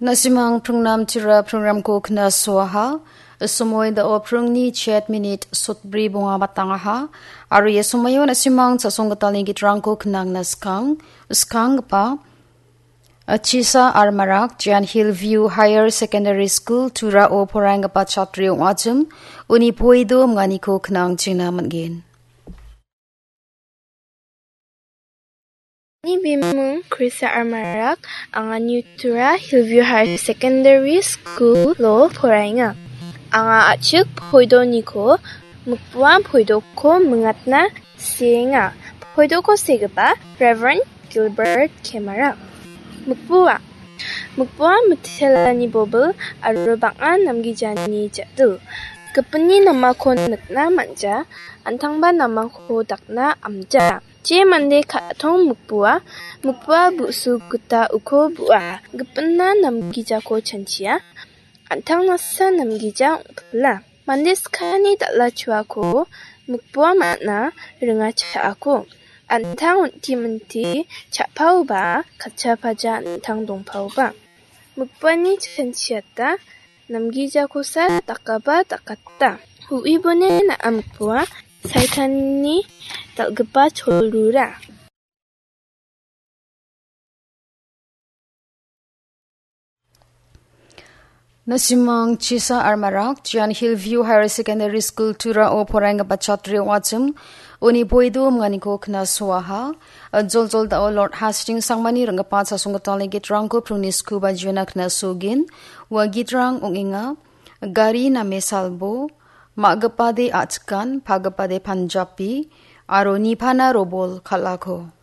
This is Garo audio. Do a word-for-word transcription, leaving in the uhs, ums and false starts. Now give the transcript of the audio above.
Nasimang pringnam tira programko knasoaha. Somoi dao pringni chet minit sotbri bonga batangaha. Aro ia somoio nasimang chasonggitalni gitrangko knangna skang, skanggipa, Achisa Armarak, Jan Hill View Higher Secondary School, Turao poraienggipa chatri ong·achim, uni poido minganiko knang chingna man·gen. Ani bimung Krista Armarak, anga New Tura Hillview Higher Secondary School-o poraenga. Anga a·chik poidoniko mikpuan poidoko mingatna seenga. Poidoko segipa Reverend Gilbert Kemara. Mikpua. Mikpua mitelani bobil aro bang·a namgijani ja·dil. Gipinni namako nikna man·ja, an·tangba namako dakna amja. Je mande ka·tong mikpua, mikpua bu·su gita uko bu·a. Gipinna namgijako chanchia, an·tang nasa namgija ong·pila. Mande skani dal·a chuako mikpua man·a ringa cha·ako. An·tang on·ti minti cha·paoba, katcha paja an·tang dongpaoba. Mikpuani chanchiata namgijakosa dakaba dakata. Hu·ibone na·a mikpua, Saitanni dal·gipa cholrura. Nasimang Chisa Armarak, Jan Hill View Higher Secondary School Turao poraienggipa chatri ong·achim, uni poido minganiko knasoaha. Joljol dao Lord Hastings Sangmani ring·gipa chasonggitalni gitrangko pringni skuba jiona knasogin. Ua gitrang ong·enga, Gari name salbo, Ma·gipade a·chikan, pagipade panjapi, aro nipana robol kal·ako.